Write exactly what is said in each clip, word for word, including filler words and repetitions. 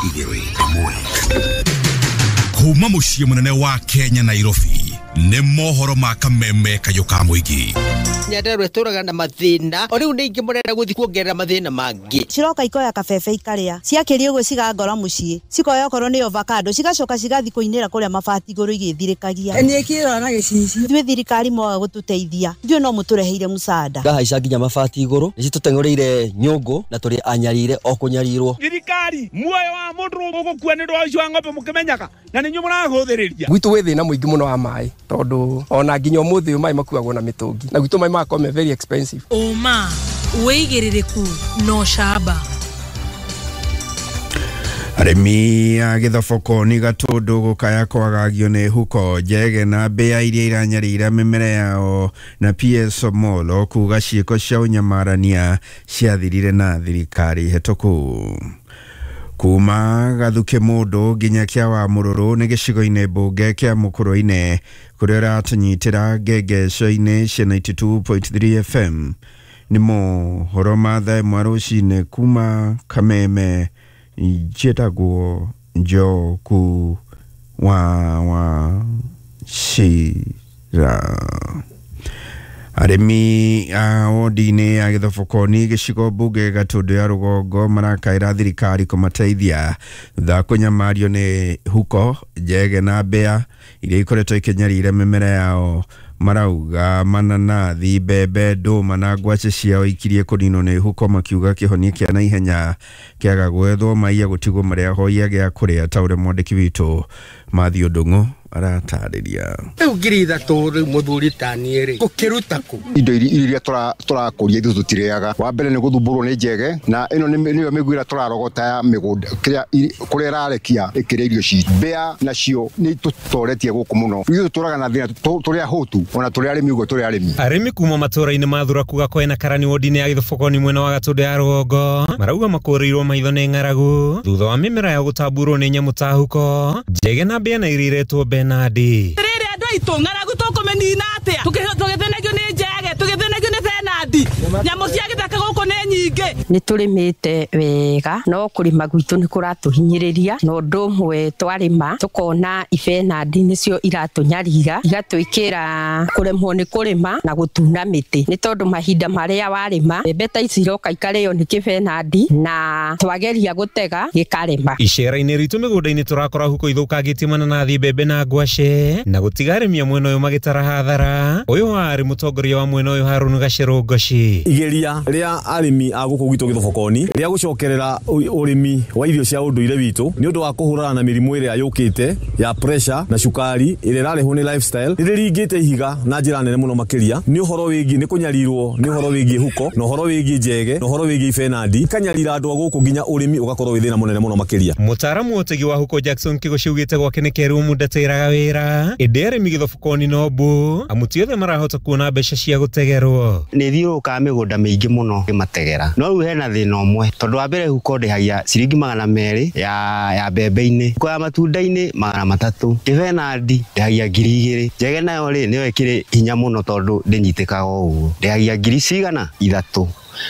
Igĩrĩ ĩmwe kuma mũciĩ mũnene wa Kenya Nairobi nĩ mohoro ma kameme kayũ ka mũingĩ. Nyandarua ĩtũraga na mathĩna o rĩu nĩ ingĩ mũrenda gũthiĩ kuongerera mathĩna mangĩ. Ciroka ikoya kabebe ikarĩa ciakĩria ũguo cigangora mũciĩ cikoya okorwo nĩ avocado cigacoka cigathiĩ kũinĩra kũrĩa mabati igũrũ igĩthirĩkagia. Niĩ kĩrora na gĩcicio. Ithuĩ thirikari mwaga gũtũteithia ithuĩ no mũtũreheire mũcada. Ngahaica nginya mabati igũrũ nĩcitũteng'ũrĩire nyũngũ na tũrĩ anyarire o kũnyarirwo. Thirikari muoyo wa mũndũ ũgũkua nĩ ũndũ wa ũici wa ng'ombe mũkĩmenyaga na nĩ inyuĩ mũrahũthĩrĩria. Gwitũ gwĩ thĩna mũingĩ mũno wa maĩ tondũ ona nginya ũmũthĩ ũyũ maĩ makuagwo na mĩtũngi na gwitũ maĩ magakorwo me very expensive. Ũma wĩigĩrĩrĩku no camba. Arĩmi a Gĩthoboko nĩ Gatũndũ gũkaya kwagagio nĩ huko njege na mbĩa iria iranyarira mĩmera yao na P S Omollo kuga ciĩko cia ũnyamarania ciathirire na thirikari hetũku. Kuma Gathuke mũndũ nginya kĩa wa mũrũrũ nĩ gĩcigo-inĩ mbunge kĩa Mũkũrũ-inĩ kũrĩa ũratũnyitĩra ngengeco-inĩ cia ninety two point three F M. Nĩ mohoro ma thaa ĩmwe rũcinĩ kuma Kameme. Njĩtagwo Njoku wa wa Cira. Arĩmi a wodi-inĩ ya Gĩthoboko-inĩ gĩcigo mbunge Gatũndũ ya rũgongo marakaĩra thirikari kũmateithia thutha wa kũnyamario nĩ huko njege na mbĩa iria ikoretwo ikĩnyarira mĩmera yao. Marauga mananathi, mbembe, ndũma na ngwacĩ ciao ikirie kũninwo nĩ huko, makiuga kĩhonia kĩa naihenya kĩaga gwethwo maiya gũtigwo marĩa ahoia gĩa kũrĩa ta ũrĩa mwandĩki witũ Matthew Ndung'u aratarĩria. Rĩu ngiri ithatũ rĩu mũthuri ta niĩ rĩ gũkĩruta kũ? Indo iria tũrakũria ithuĩ tũtirĩaga. Wa mbere nĩ gũthumbũrwo nĩ njege na ĩno nĩyo mĩguĩ ĩrĩa tũrarogota ya mĩgũnda kĩrĩa kũrĩa ĩrarekia ĩkĩrĩa irio citũ. Mbĩa nacio nĩ itũtoretie gũkũ mũno. Ithuĩ tũtũraga na thĩna tũrĩ ahũtu ona tũrĩ arĩmi ũguo tũrĩ arĩmi. Arĩmi kuma matũra-inĩ ma Thuraku Gakoe na Karani wodi-inĩ ya Gĩthoboko-inĩ mwena wa Gatũndũ ya rũgongo marauga makũrĩirwo maitho nĩ ng'aragu thutha wa mĩmera yao gũtamburwo nĩ nyamũ ta huko njege na mbĩa na iria iretwo Benadi. Rĩrĩ andũ aitũ ng'aragu tũkũmĩnina atĩa? Tũgĩthĩnagio nĩ njege, tũgĩthĩnagio nĩ Benadi. Nyamũ cia gĩthaka gũkũ nĩ nyingĩ. Nĩ tũrĩmĩte wega no kũrĩma gwitũ nĩ kũratũhinyĩrĩria na ũndũ ũmwe twarĩma tũkona ibenadi nĩcio iratũnyarira igatwĩkĩra kũremwo nĩ kũrĩma na gũtuna mĩtĩ nĩ tondũ mahinda marĩa warĩma mbembe ta ici iroka ikarĩo nĩ kĩbenadi na twageria gũtega gĩkarema. Icera-inĩ ritũ mĩgũnda-inĩ tũrakora huko ithũkangĩtie mananathi, mbembe na ngwacĩ na gũtiga arĩmi a mwena ũyũ magĩtara hathara. Ũyũ warĩ mũtongoria wa mwena ũyũ Harũnu Gacerũ Ngoci. Igeria rĩa arĩmi a gũkũ gwitũ Gĩthoboko-inĩ rĩa gũcokerera ũrĩmi wa irio cia ũndũire witũ nĩ ũndũ wa kũhũrana na mĩrimũ ĩrĩa yũkĩte ya pressure na cukari ĩrĩa ĩrarehwo nĩ lifestyle nĩ rĩringĩte ihiga na njĩra nene mũno makĩria nĩ ũhoro wĩgiĩ nĩ kũnyarirwo nĩ ũhoro wĩgiĩ huko na ũhoro wĩgiĩ njege na ũhoro wĩgiĩ ibenadi ikanyarira andũ a gũkũ nginya ũrĩmi ũgakorwo wĩ thĩna mũnene mũno makĩria. Mũtaaramu wa ũtegi wa huko Jackson Kĩgoci augĩte gwake nĩ kerũ mũndatĩraga wĩra ĩndĩ arĩmi Gĩthoboko-inĩ no mbu amu ti othe marahota kuona mbeca cia gũtegerwo. Nĩ thiũrũrũkaga mĩgũnda mĩingĩ mũno ngĩmategera no rĩu hena thĩna ũmwe tondũ wa mbere huko ndĩhagia ciringi magana merĩ ya ya mbembe-inĩ, huko ya matunda-inĩ magana matatũ, kĩbenadi ndĩhagia ngiri igĩrĩ, njege nayo rĩ nĩyo ĩkĩrĩ hinya mũno tondũ ndĩnyitĩkaga ũguo ndĩhagia ngiri cigana ithatũ.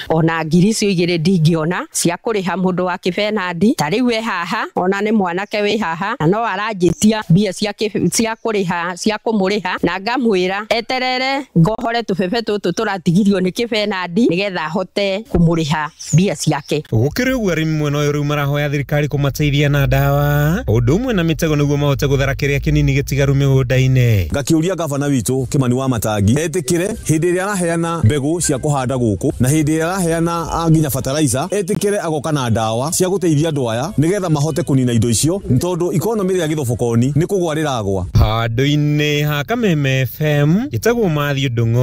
Ona ngiri icio igĩrĩ ndingĩona cia kũrĩha mũndũ wa kĩbenadi ta rĩu we haha ona nĩ mwanake wĩ haha na no aranjĩtia mbia cia cia kũrĩha cia kũmũrĩha na ngamwĩra eterere ngohore tũbebe tũtũ tũratigirio nĩ kĩbenadi nĩgetha ahote kũmũrĩha mbia ciake. Gũkĩrĩ ũguo arĩmi mwena ũyũ rĩu marahoya thirikari kũmateithia na ndawa ũndũ ũmwe na mĩtego nĩguo mahote gũthara kĩrĩa kĩnini gĩtigaru mĩgũnda-inĩ. Ngakĩũria gavana witũ Kĩmani wa Matangi etĩkĩre hĩndĩ ĩrĩa araheana mbegũ cia kũhanda gũkũ na hĩndĩ araheana nginya fertilizer etikire agoka na ndawa cia gũteithia andũ aya nigetha mahote kũnina indo icio nĩ tondũ ikonomi ya Gĩthoboko-inĩ nĩ kũgwa rĩragwa. Handũ-inĩ ha Kameme F M njĩtagwo Matthew Ndung'u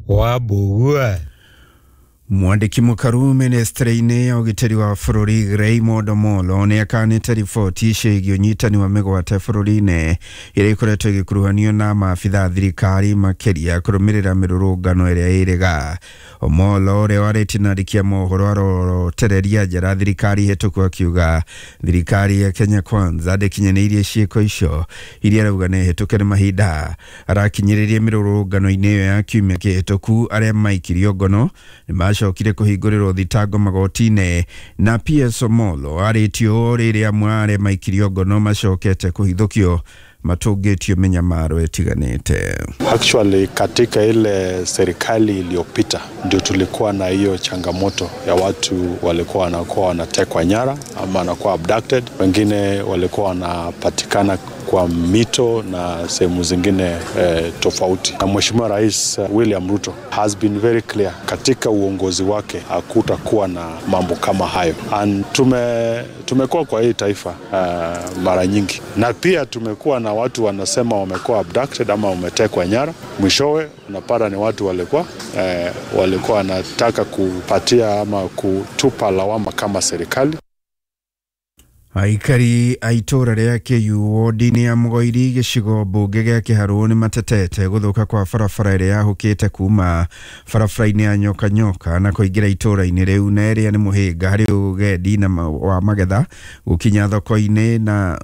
wa Mbugua. Mwandĩki mũkaru ministry-inĩ ya ũgitĩri wa bũrũri Raymond Omollo nĩ akanĩte riboti ciĩgiĩ ũnyitani wa mĩgwate bũrũri-inĩ ĩrĩa ĩkoretwo ĩgĩkuruhanio na maabitha a thirikari makĩria kũrũmĩrĩra mĩrũrũngano ĩrĩa ĩrĩga. Omollo ũrĩa warĩtie na andĩki a mohoro arorotereria njara thirikari hĩtũku akiuga thirikari ya Kenya Kwanza ndĩkinyanĩirie ciĩko icio iria arauga nĩ hĩtũke nĩ mahinda. Arakinyĩrĩrie mĩrũrũngano-inĩ ĩyo ya kiumia kĩhĩtũku arĩa maikirio ngono nĩ Acokire kũhingũrĩrwo thitango magoti-inĩ na P S Omollo arĩtio rĩrĩa amwe arĩa maikirio ngono macokete kũhithũkio matũngĩtio mĩnyamaro ĩtiganĩte. Actually katika ile serikali iliyopita ndio tulikuwa na hiyo changamoto ya watu walikuwa wanakuwa wanatekwa nyara ama wanakuwa abducted, wengine walikuwa wanapatikana kwa mito na sehemu zingine eh, tofauti. Na Mheshimiwa Rais William Ruto has been very clear katika uongozi wake hakutakuwa na mambo kama hayo. And tume tumekuwa kwa hii taifa uh, mara nyingi, na pia tumekuwa na watu wanasema wamekuwa abducted ama wametekwa nyara, mwishowe unapata ni watu walikuwa eh, walikuwa wanataka kupatia ama kutupa lawama kama serikali. Aikari a itũũra rĩa Kĩyu wodi-inĩ ya Mũgoiri gĩcigo mbunge gĩa Kĩharũ nĩ matetete gũthũka kwa barabara ĩrĩa yahũkĩte kuma barabara-inĩ ya Nyoka Nyoka na kũingĩra itũũra-inĩ rĩu, na ĩrĩa nĩ mũhĩnga harĩ ũgendi na wa magetha gũkinya thoko-inĩ na,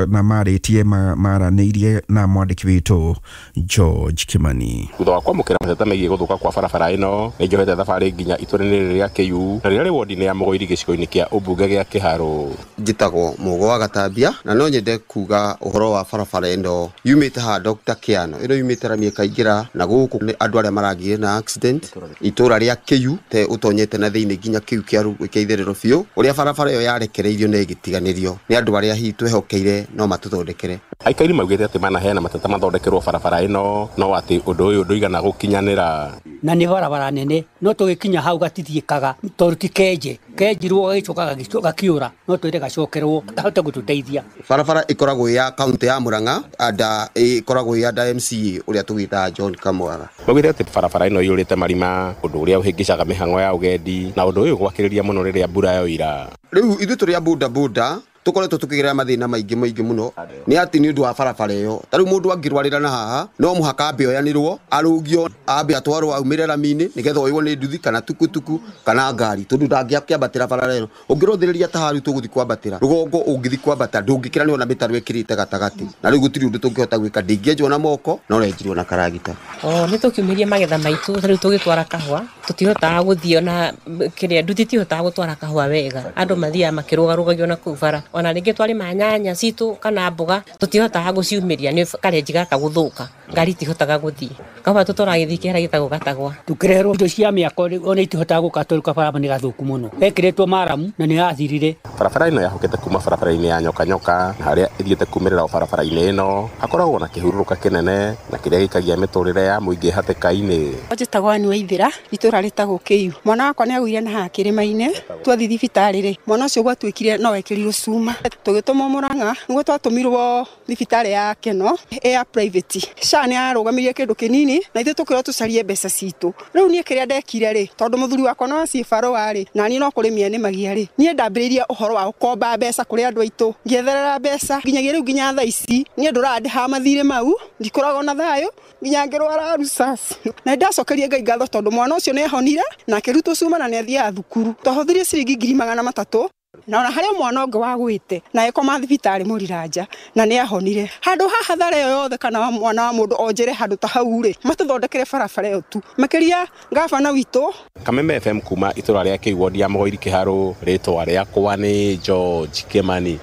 na marĩtie maranĩirie na mwandĩki witũ George Kimani. Thutha wa kwamũkĩra mateta megiĩ gũthũka kwa barabara ĩno, nĩ njohete thabarĩ nginya itũũra-inĩ rĩrĩ rĩa Kĩyu na rĩrĩa rĩ wodi-inĩ ya Mũgoiri gĩcigo-inĩ kĩa ũmbunge gĩa Kĩharũ. Njĩtagwo Mugo wa Gatambia na no nyende kuga ũhoro wa barabara ĩno yumĩte ha Doctor Kiano ĩno yumĩte rami ĩkaingĩra na gũkũ nĩ andũ arĩa maragĩire na accident itũũra rĩa Kĩyu te ũtonyete na thĩinĩ nginya Kĩyu kĩa kĩa itherero biũ ũrĩa barabara ĩyo yarekereirio na ĩgĩtiganĩrio nĩ andũ arĩa hihi twehokeire no matũthondekere. Aikari maugĩte atĩ manaheana mateta mathondekerwo barabara ĩno no atĩ ũndũ ũyũ ndũigana gũkinyanĩra. Na nĩ barabara nene no tũgĩkinya hau gatithiĩkaga tondũ ti kenje kenjirwo gagĩcoka gakiũra no twĩre gacokerwo kahote gũtũteithia. Barabara ĩkoragwo ya kaunti ya Murang'a anda ĩkoragwo ya anda M C A ũrĩa tũgĩtaga John Kamwara. Maugĩte atĩ barabara ĩno ĩiyũrĩte marima ũndũ ũrĩa ũhĩngĩcaga mĩhang'o ya ũgendi na ũndũ ũyũ gwakĩrĩria mũno rĩrĩa mbura yoira. Rĩu ithuĩ tũrĩ a boda boda tukoretwo tukigerera mathina maingi maingi muno ni ati ni undu wa barabara iyo ta riu mundu angirwarira na haha no muhaka ambe oyanirwo arugio ambe atwarwo aumire rami-ini nigetha oywo ni nduthi kana tukutuku kana ngari tondu ndangĩakĩambatĩra barabara ĩno. Ũngĩrũthĩrĩria ta haru tũgũthi kwambatĩra rũgongo ũngĩthi kwambata ndũngĩkĩra nĩ ona mĩtaro ĩkĩrĩte gatagatĩ na rĩu gũtirĩ ũndũ tũngĩhota gwĩka ndingĩenjwo na moko no renjirwo na karagita. O nĩ tũkiumĩrie magetha maitũ ta rĩu tũgĩtwara kahũa tũtihotaga gũthiĩ ona kĩrĩa nduthi itihotaga gũtwara kahũa wega andũ mathiaga makĩrũgarũgagio na kũu bara ona rĩngĩ twarĩma nyanya citũ kana mboga tũtihotaga gũciumĩria nĩ karenji gaka gũthũka ngari itihotaga gũthiĩ kahũa tũtwaraga gĩthii kĩharĩa gĩtagwo Gatagwa. Tũkĩreherwo indo cia mĩako ona itihotaga gũka tondũ kabarabara nĩ gathũku mũno gekĩrĩtwo maramu na nĩ yathirire. Barabara ĩno yahũkĩte kuma barabara-inĩ ya Nyoka Nyoka na harĩa ĩthiĩte kumĩrĩra o barabara-inĩ ĩno hakoragwo na kĩhurũrũka kĩnene na kĩrĩa gĩikagia mĩtũrĩre ya mũingĩ hatĩka-inĩ. Njĩtagwo Ann Waithĩra itũũra rĩtagwo Kĩyu. Mwana wakwa nĩ agũire na haha kĩrĩma-inĩ twathiĩ thibitarĩ rĩ mwana ũcio gwatuĩkire no ekĩrirwo cuma tũgĩtũmwo Murang'a nĩguo twatũmirwo thibitarĩ ya Keno ya private. S H A nĩ yarũgamirie kĩndũ kĩnini na ithuĩ tũkĩrwo tũcarie mbeca citũ. Rĩu niĩ kĩrĩa ndekire rĩ tondũ mũthuri wakwa no aciĩ barũa rĩ na niĩ no kũrĩmia nĩmagia rĩ niĩ ndambĩrĩirie ũhoro wa gũkomba mbeca kũrĩ andũ aitũ ngĩetherera mbeca nginyagia rĩu nginya thaa ici niĩ ndũraga ndĩhaga mathirĩ mau ndikoragwo na thayũ nginya ngĩrwara rusasi na nĩndacokeria Ngai ngatho tondũ mwana ũcio nĩahonire na akĩrutwo cuma na nĩathiaga thukuru. Twahũthĩrire ciringi ngiri magana matatũ na ona harĩ mwana ũngĩ wagwĩte na ĩkoma thibitarĩ Mũriranja na nĩahonire. Handũ haha thara ĩyo yothe kana mwana wa mũndũ onjere handũ ta hau rĩ matũthondekere barabara ĩyo tu makĩria gabana witũ. Kameme F M kuma itũra rĩa Kĩyu wodi ya Mũgoiri Kĩharũ rĩtwa rĩakwa nĩ George Kimani.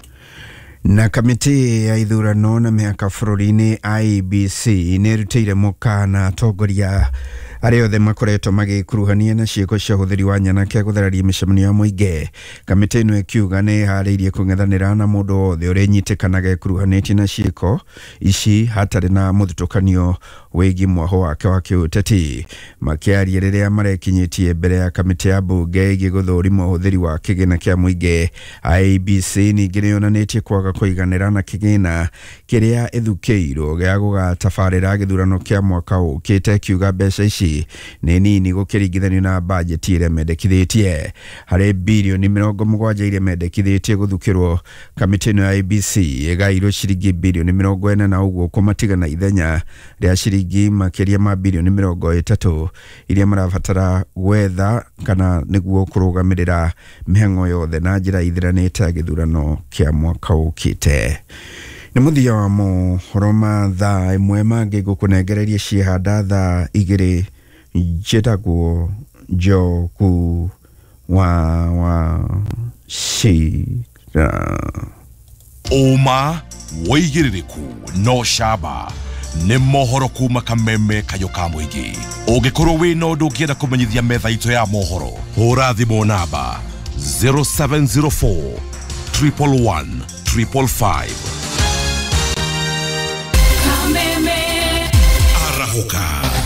Na kamĩtĩ ya ithurano na mĩhaka bũrũri-inĩ I E B C nĩ ĩrutĩire mũkana atongoria arĩa othe makoretwo magĩkuruhania na ciĩko cia ũhũthĩri wa nyanake gũthararia mĩcemanio ya mũingĩ. Kamĩtĩ ĩno ĩkiuga nĩ ĩharĩirie kũng'ethanĩra na mũndũ wothe ũrĩa ĩnyitĩkanaga ĩkuruhanĩtie na ciĩko ici hatarĩ na mũthutũkanio wĩgiĩ mwaho wake wa kĩũteti. Makĩaria rĩrĩa marekinyĩtie mbere ya kamĩtĩ ya mbunge ĩgiĩ gũthũrima ũhũthĩri wa kĩgĩna kĩa mũingĩ, I E B C ningĩ nĩyonanĩtie kwaga kũiganĩra na kĩgĩna kĩrĩa ĩthukĩirwo gĩa gũgatabarĩra gĩthurano kĩa mwaka ũkĩte, ĩkiuga mbeca ici nĩ nini gũkĩringithanio na bajeti ĩrĩa mendekithĩtie. Harĩ birioni mĩrongo mũgwanja iria mendekithĩtie gũthukĩrwo, kamĩtĩ ĩno ya I E B C ĩgairwo ciringi birioni mĩrongo ĩna na ũguo kũmatigana ithenya rĩa ciringi makĩria ma birioni mĩrongo ĩtatũ iria marabatara gwetha kana nĩguo kũrũgamĩrĩra mĩhang'o yothe na njĩra ithiranĩte ya gĩthurano kĩa mwaka ũkĩte. Nĩ mũthia wa mohoro ma thaa ĩmwe mangĩ ngũkũnengereria ciĩhanda thaa igĩrĩ. Njĩtagwo Njogu wa wa Cira. Ũma wĩigĩrĩrĩku no camba nĩ mohoro kuma kameme kayũ ka mũingĩ. Ũngĩkorwo wĩna ũndũ ũngĩenda kũmenyithia metha itũ ya mohoro, hũra thimũ namba zero seven zero four triple one triple five. Arahũka.